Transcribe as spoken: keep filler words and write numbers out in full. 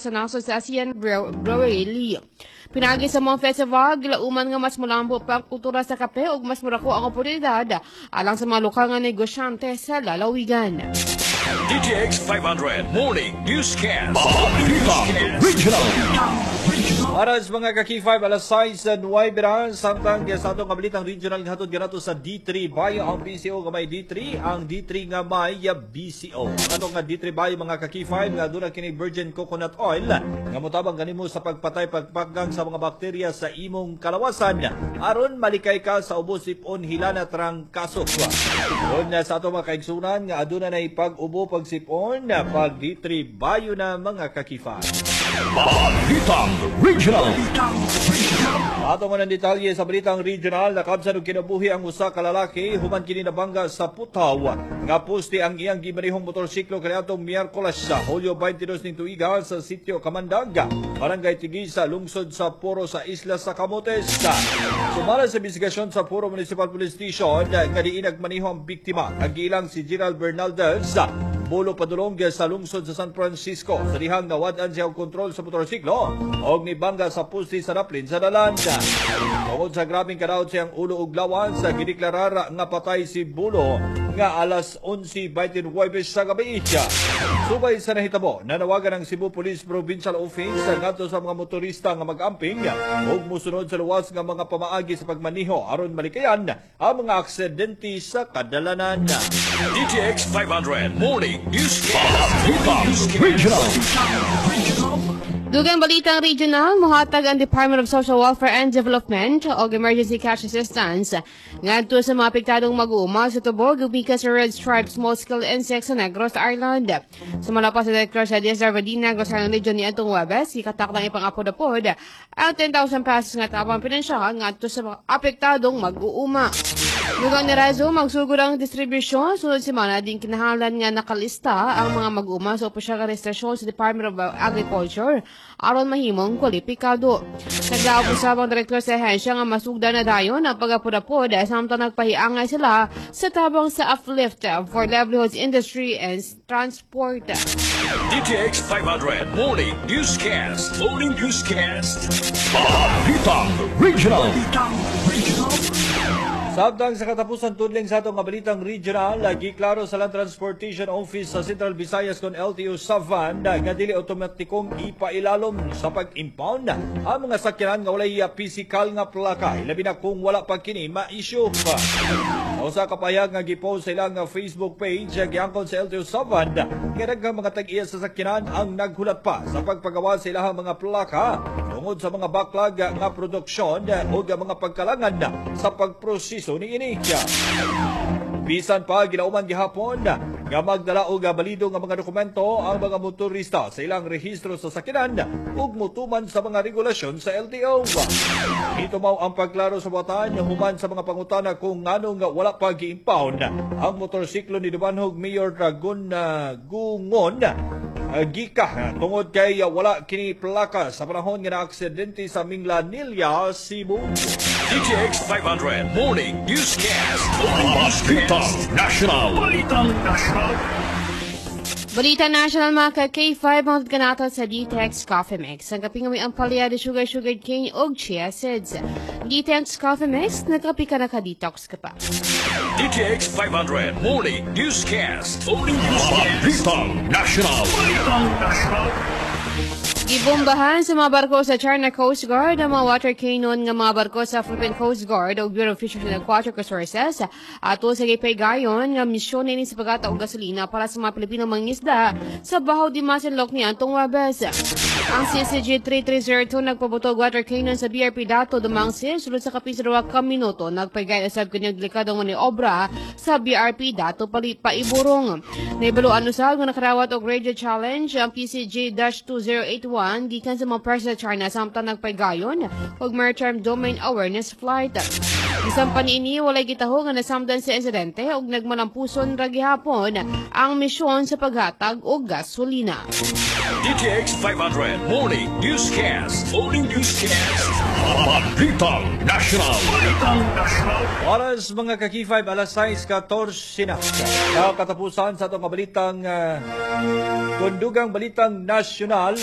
sa nasod sa ASEAN Brewery Lee. Pinaagi sa mga festival, gilauman nga mas mulambo pa ang kultura sa kape ug mas murako ang oportunidad alang sa mga lokal nga negosyante sa lalawigan. D T X five hundred Morning Newscast. Balitang Regional. Oras, mga ka-K five, alas sais at nuwebe na, samtang sa atong kabalitang regional nga hatod kanato sa D three Bio, ang B C O nga may D three, ang D three nga may B C O. Ang atong nga D three Bio, mga ka-K five, nga aduna kini virgin coconut oil nga motabang kanimo sa pagpatay, pagpaggang sa mga bakterya sa imong kalawasan aron malikay ka sa ubo, sipon, hilana, trangkaso. Kun sa atong mga kaigsunan nga aduna na pag-ubo, pagsipon, pag D three Bio na, mga ka-K five. Balitang Regional. Ato man ang detalye sa balitang regional, nakabsan og kinabuhi ang usa ka lalaki human kini nabangga sa putaw nga poste ang iyang gimanihong motorsiklo kaniadtong Miyerkules sa Hulyo twenty-two ning tuiga sa sitio Kamandag, Barangay Tigisa, lungsod sa Poro sa isla sa Camotes. Sumala sa investigasyon sa Poro Municipal Police Station nga diin nagmaniho ang biktima, ang giilang si Gerald Bernaldez Bulo padulong sa lungsod sa San Francisco sa dihang nawad-an siya og kontrol sa motorsiklo og nibangga sa poste sa daplin sa dalan. Tungod sa grabeng kadaot siyang ulo ug lawas, sa gideklarar nga patay si Bulo nga alas onse twenty-nine sa gabi. Subay sa nahitabo, nanawagan ang Cebu Police Provincial Office ngadto sa mga motorista nga mag-amping ug musunod sa luwas nga mga pamaagi sa pagmaniho aron malikayan ang mga aksidente sa kadalanan. D T X five hundred Morning Newscast. Balitang Regional. Dugang balitang regional, muhatag ang Department of Social Welfare and Development og emergency cash assistance ngadto sa mga apektadong mag-uuma sa tubog gikan sa Red Stripe Small Scale Insects sa Negros Island. Sumala pa sa Director sa D S R W D Negros Island Region ni atong Webes, gikatak lang ipang-apod-apod ang ten thousand pesos nga tabang pinansyal ngadto sa mga apektadong mag-uuma. Dugang ni Razo, magsugod ang distribusyon sunod semana din kinahanglan nga nakalista ang mga mag-uuma sa opisyal nga registrasyon sa Department of Agriculture aron mahimong kwalipikado. Naglaog usab ang direktor sa ahensya nga masugdan na dayon ang pag-apod-apod samtang nagpahiangay sila sa tabang sa Uplift for Livelihoods Industry and Transport. D T X five hundred Morning Newscast. Morning Newscast. Balitang Regional. Samtang sa katapusan tudling sa atong balitang regional, lagi klaro sa Land Transportation Office sa Central Visayas kon L T O Savan nga dili otomatikong ipailalom sa pag-impound ang mga sakyanan nga walay physical nga plaka, labi na kung wala pa kini ma-issue. Sa usa ka pahayag nga gipost sa ilang Facebook page, giangkon sa L T O Savan nga daghang mga tag-iya sa sakyanan ang naghulat pa sa pagpagawa sa ilahang mga plaka tungod sa mga backlog nga produksyon o mga pagkalangan sa pagproseso niini. Bisan pa gilauman gihapon nga magdala og balido nga mga dokumento ang mga motorista sa ilang rehistro sa sakyanan ug mutuman sa mga regulasyon sa L T O. Ito mao ang pagklaro sa buhatan human sa mga pangutana kung ngano nga wala pa gi-impound ang motorsiklo ni Dumanjug Mayor Dragon uh, Gungon uh, Gika tungod kay uh, wala kini plaka sa panahon nga naaksidente sa Minglanilla, Cebu. D T X five hundred Morning Newscast. Morning Balitang National. Balitang National. Balita National, mga ka-K five, mga kanato sa D T X Coffee Mix. Ang kaping may ampalaya de sugar, sugar cane og chia seeds. D T X Coffee Mix, nagkapi ka, naka-detox ka pa. D T X five hundred Morning Newscast. Morning Newscast. Balitang National. Balitang National. Gibombahan sa mga barko sa China Coast Guard ang mga water cannon nga mga barko sa Philippine Coast Guard ug Bureau of Fisheries and Aquatic Resources ato sa gipaygayon nga misyon ini sa paghatag og gasolina para sa mga Pilipino mangingisda sa Bajo de Masinloc ni antong Webes. Ang C C G three three zero two nagpabuto og water cannon sa B R P Dato Domangsil sulod sa kapin sa duha ka minuto. Nagpaygayon usab kini og delikadong maniobra sa B R P Dato Pali Paiburong. Naibaluan usab nga nakarawat og radio challenge ang P C G dash two zero eight one gikan sa mga press sa China samtang nagpaygayon og Maritime Domain Awareness Flight. Bisan pa niini, walay gitaho nga nasamdan sa insidente ug nagmalampuson ra gihapon ang misyon sa paghatag og gasolina. D T X five hundred Morning Newscast. Morning Newscast. Balitang National. Balitang National. Oras, mga ka-K five, alas sais catorse na. Sa katapusan sa atong balitang uh, kundugang balitang nasyonal,